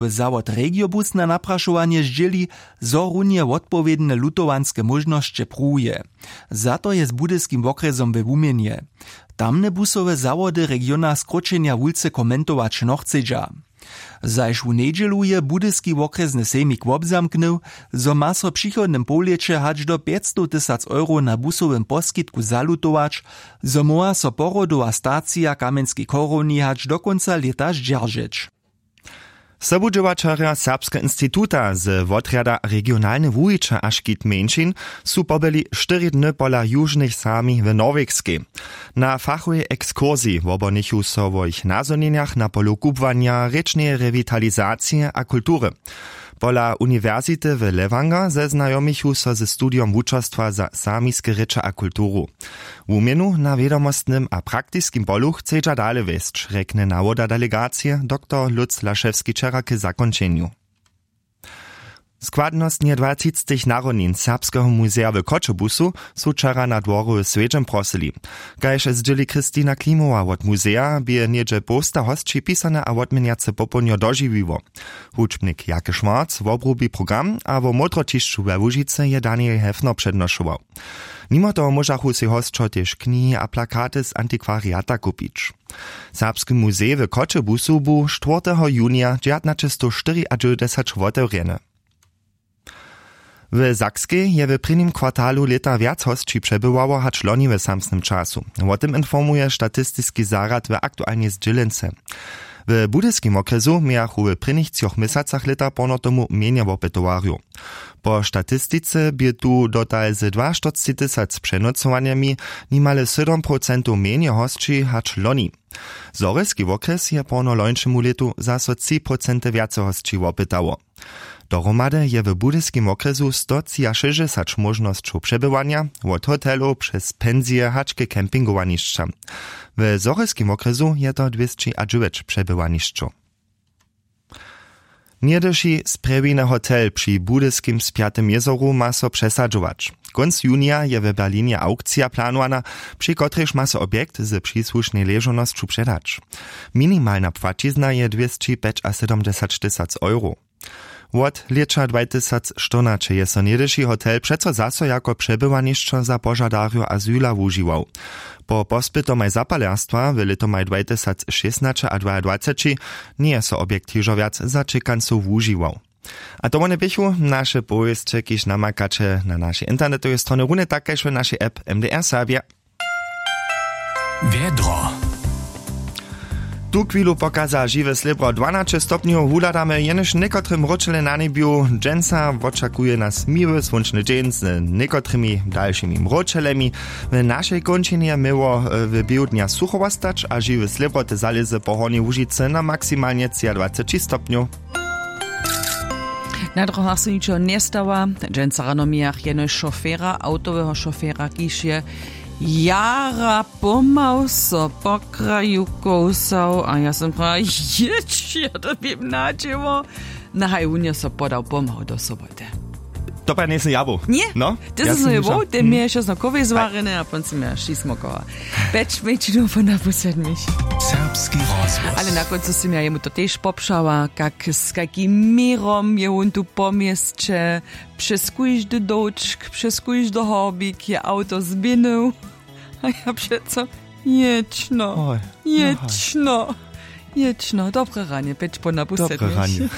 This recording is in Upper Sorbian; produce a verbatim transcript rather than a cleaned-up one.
Zawod Regiobus na naprašowanje zdźěli, zo runje wotpowědne lutowanske móžnosće pruwuje. Za to je z budyskim wokrjesom we wuměnje. Tamne busowe zawody regiona skróćenja wulce komentować nochcedźa. Zaž w njedźelu je budyski wokrjesny sejmik wobzamknył, zo ma so w přichodnym połlěće hač do pjećstowtysac euro na busowym poskitku zalutować, zo móhła so porodowa stacija w kamjenskej chorowni hač do kónca lěta zdźeržeć. Sobudźěłaćerjo serbskeho instituta z wotrjada regionalne wuwiće a škit mjeńšin su pobyli štyri dny pola južnych sami w norwegskej. Na fachowej ekskursiji wobonichu so wo jich nazhonjenjach na polu kubłanja, rěčneje rewitalizacije a kultury. Pola uniwersity w lewanger zeznajomichu so ze studijom wučerstwa za samiske rěče a kulturu. Wuměnu na wědomostnym a praktiskim polu chcedźa dale wjesć, rjekny nawoda delegacije dr lutz lašewski wčera k zakónčenju. Składnostnje dwatřictych narodnin serbskeho muzeja w choćebuzu su wčera na dworu w swjedźem prosyli. Kaž zdźěli christina klimowa wot muzeja bě něhdźe połsta hosći pisane a wotměnjace popołdnjo dožiwiło. Hudźbnik jake schwarz wobrubi program a wo módroćišću we łužicy je daniel hefner přednošował. Nimo toho móžachu sej hosćo tež knihi a plakaty z antikwariata kupić. Serbski muzej w choćebuzu bu štwórteho junija dźewjatnaćestow štyriadźewjećdźesać wotewrjeny. W sakskej je w prěnim kwartalu lěta wjac hosći přebywało hač loni w samsnym času. Wo tym informuje statistiski zarjad w aktualnej zdźělence. W budyskim wokrjesu mějachu w prěnich třoch měsacach lěta porno tomu mjenje wopytowarjow. Po statistice bě tu dotal z dwaštyrcci tysac přenocowanjemi nimale sydom procentow mjenje hosći hač loni. Zhorjelski wokrjes je porno lońšemu lětu zaso tři procenty wjace hosći wopytało. Dohromady je w budyskim wokrjesu stotřiašěsćdźesać móžnosćow přebywanja, wot hotelow přez pensije hač k campingowanišćam. W zhorjelskim wokrjesu je to dwěsći a dźewjeć přebywanišćow. Něhdyši sprjewiny hotel při budyskim spjatym jězoru ma so přesadźować. Kónc junija je w berlinje aukcija planowana, při kotrejž ma so objekt ze přisłušnej ležownosću předać. Minimalna płaćizna je dwěsćipjećasydomdźesatštysac euro. Wot lěća dwajtysacštyrnaće je so něhdyši hotel přeco zaso jako přebywanišćo za požadarjow azyla wužiwał. Po pospytomaj zapalerstwa w lětomaj dwajtysacšěsnaće a dwajadwaceći njeje so objekt hižo wjac za čekancow wužiwał. A to wone běchu naše powěsće, kiž namakaće na našej internetowej stronje, runje tak kaž w našej app. M D R Serbje. Wjedro. Tu chwilu pokaza žiwe slěbro dwanaće stopnjow. Wuhladamy jenož někotre mróčele na njebju. Dźensa wočakuje nas miły słónčny dźeń z někotrymi dalšimi mróčelemi. W našej kónčinje měło w běhu dnja sucho wostać a žiwe slěbroty zalězy po hornjej łužicy na maksimalnje třiadwaceći stopnjow. Na drogach so ničo njestawa. Dźensa rano mějach jenož šofera, awtoweho šofera, kiž je jara pomał so po kraju kołsał a ja som prawa, jěć, ja to běm nadźěło. Na haj wón je so podał pomał do soboty. To pa njejsym ja był. Ně? No, ty sy so je był, ty měješ so kowej zwarjene a pon sy měješ šismokowa. Peć mejčinow po napusednich. Serbski rozhłos. Ale na kóncu sy ja jemu to tež popšała, kak z kakim měrom je wón tu po měsće, přez kóždy dołčk, přez kóždy horbik je awto zběhnył. A ja přeco, jěćno, jěćno, jěćno. Dobre ranje, peć po napusednich. Dobre ranje.